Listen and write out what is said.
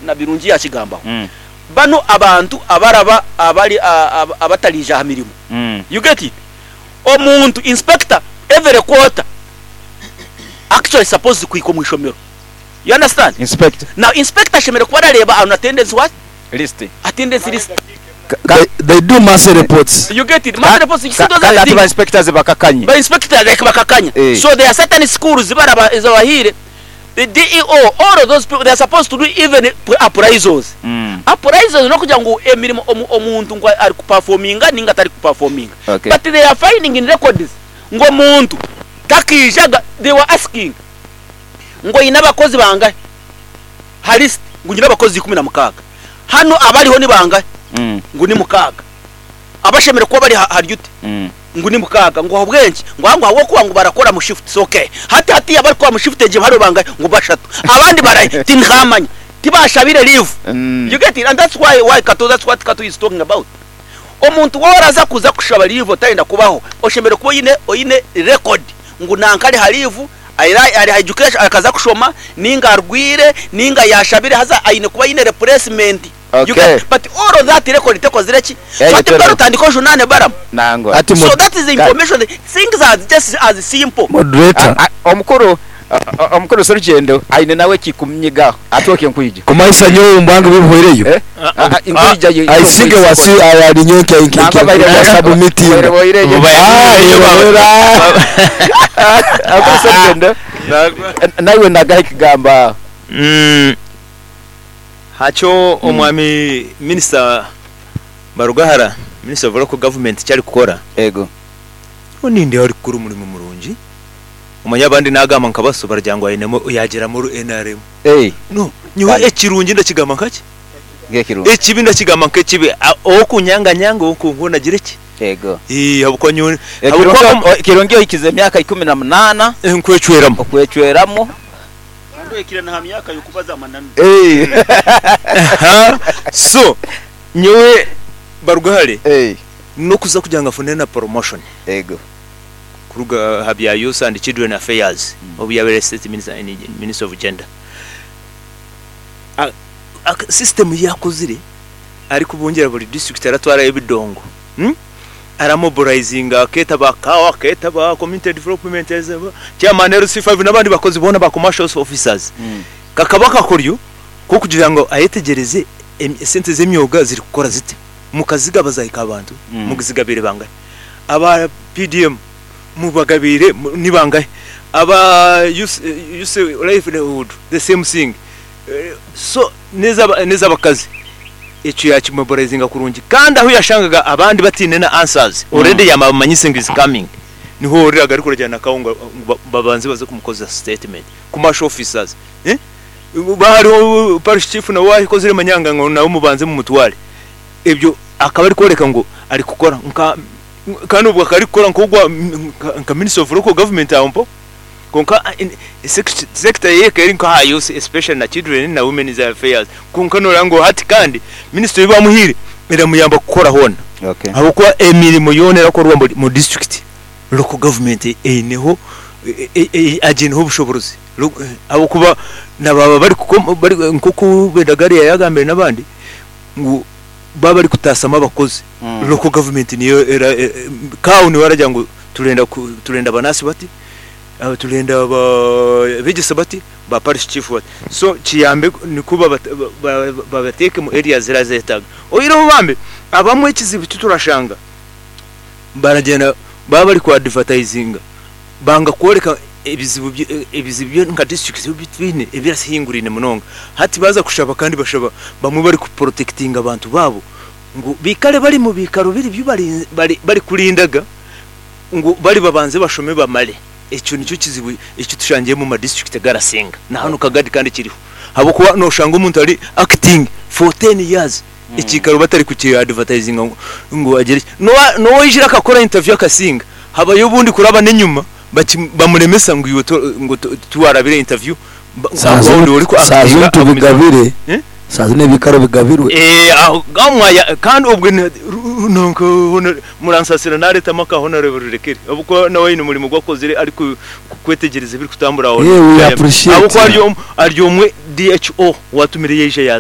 na Birungi yakigambaho. Banu abantu abaraba abari abatariija aha mirimo. You get it? Omuntu inspector every quarter actually supposed kuhika omu ishomero. You understand? Inspector. Now inspector ashemereire kuba arareeba on attendance what? List. Attendance list. They, they do monthly reports. You get it? Monthly reports, you see those Kandi are the hati ba things. inspectors bakakanye. Ba inspector like bakakanya. Eh. So there are certain schools baraba ezabahiire the DEO all of those people they are supposed to do even appraisals. Appraisals n'okugira ngu emirimo omu, omuntu ngu ari kuperforminga ninga atari kuperforminga. Okay. But they are finding in records ngu omuntu takiijaga they were asking ngu oine abakozi bangahi ha list ngu nyine abakozi 16 hanu abariho ni bangahi ngu ni mukaaga abashemereire kuba bari ha duty ngu ni mukaaga ngu ahabw'enki ngu ahangu ahabw'okuba ngu barakora mu shifts okay hati hatiiya abarikukora mu shift egyo hariho bangahi ngu bashatu abandi barahi tinkamanya tibashabire leave you get it and that's why why Kato that's what Kato is talking about omuntu waaba oraza kuza kushaba leave otayenda kubaho oshemereire kuba oine oine record ngu nanka ari ha leave ari ari ha education akaza kushoma ninga arwire ninga yashabire haza aine kuba aine replacement you Okay. get but all of that record tekozire ki so Egyo hati teriho. mbwenu otandike ojunaane Balaam Nangwa. Ati so mod- that is the information things are just as simple moderator. A- a- Omukuru omukuru Serugyendo aine nawe ekikumunyiga ati okyo nkwija. Kumanyisa nyowe omu bwange bw'ebihweireyo. Eh? A- a- Nkwija ye- I think wasi ari nyowe nka nka Nangwa baire nka submitting. boireyo. Ah, yebawera. Omukuru Serugyendo naiwe nagaha ekigamba aho. Hakyo omwami minisita Barugahara, Minister of Local Government eki arikukora, Ego. nyowe nindeeba arikukora omurimo murungi. Omanye abandi nagamba nka baso baragira ngu ainemu yaagiramu oru nrm. Ei. No, nyowe Kare. ekirungi ndakigamba nkaki? Nk'ekirungi. Ekibi ndakigamba nk'ekibi. Ow'okunyanganyanga, ow'okunkuuna agire ki? Ego. Eeh, ahabw'okuba nyowe Ekirungi ahabw'okuba ekirungi ohikize emyaka 18. Nkwecweramu. Okwecweramu. Kandi ohikire na ha myaka y'okubaza amananu. Ei. Aha, so nyowe Barugahare Ei. n'okuza kugira ngu afune na promotion. Ego. Kuruga aha bya Youth and Children Affairs obu yabaire State Minister in Ministry of Gender. System ei akozire arikubungira buri district aratwarayo ebidongo, aramobilizinga akeeta ba CAO, akeeta ba Community Development, Chairman LC5 n'abandi bakozi boona ba Commercial Officers. Kakaba akakoryo k'okugira ngu ayetegyereze esente z'emyoga zirikukora zita. Mukazigaba zahika aha bantu? Muzigabiire bangahi? Aba PDM mubagabiire ni bangahi? Aba Youth Livelihood the same thing. So n'ez'abakazi ekyo yakimobilizinga kurungi kandi ahu yashangaga abandi bataine na answers already yamabamanyise ngu is coming. Niho ohuriraga arikuragira na Kawo ngu babanze baze kumukozesa statement. Commercial officers hariho parish chief nawe owakozire manyanga ngu nawe mubanze mumutware. Ebyo akaba arikworeka ngu arikukora nka kandi obwo akaba arikukora nk'ogwa nka minister of local government aho mpaho. Kwonka sector ye ekaba eri nka aha youth especially na children na women's affairs. Kwonka noreeba ngu hati kandi ministry ei bamuhaire eramuyamba kukora hoona. Ahabw'okuba emirimo yoona erakorwa mu district local government eineho agiineho obushoborozi. Ahabw'okuba na baaba bari nk'oku Bendagari yaagambire n'abandi ngu baaba barikutaasyamu abakozi local government niyo era CAO niwe aragira ngu turenda turenda ba nurse bati, turenda abeegyesa bati, ba parish chief bati. So kiyambe nikwo babateeke omu areas ezirazetaaga. Oihireho bambe abamwe ekizibu eki turashanga baragyenda baba bari ku advertisinga banga kworeka ebizibu ebizibu byo nka district ebi twine ebirahingurine munonga. Hati baza kushaba kandi bashaba bamwe bari ku protectinga abantu baabo ngu baikare bari mu biikaro biri bi bari kurindaga ngu bari babanze bashome bamare. Ekyo nikyo kizibu eki tushangire omu ma district agarasinga. Na hanu Kagadi kandi kiriho. Ahabw'okuba noshanga omuntu ari acting for ten years ekiikaro batari kuki advertisinga ngu agire ki. N'owaijire akakora interview akasinga habayo obundi kuraba n'enyima bamuremesa ngu iwe ngu tiwarabire interview Saaha zinu tubigabire, saaha zinu ebiikaro bigabirwe. Aho mwaya kandi obwe nanka muransasira nareetamu aka Honorable Rurekere ahabw'okuba nawe aine omurimo ogu akozire arikwetegyereza ebirikutambura aho. Yeah, we appreciate. Ahabw'okuba ari omwe DHO owatumire yaija yaaza.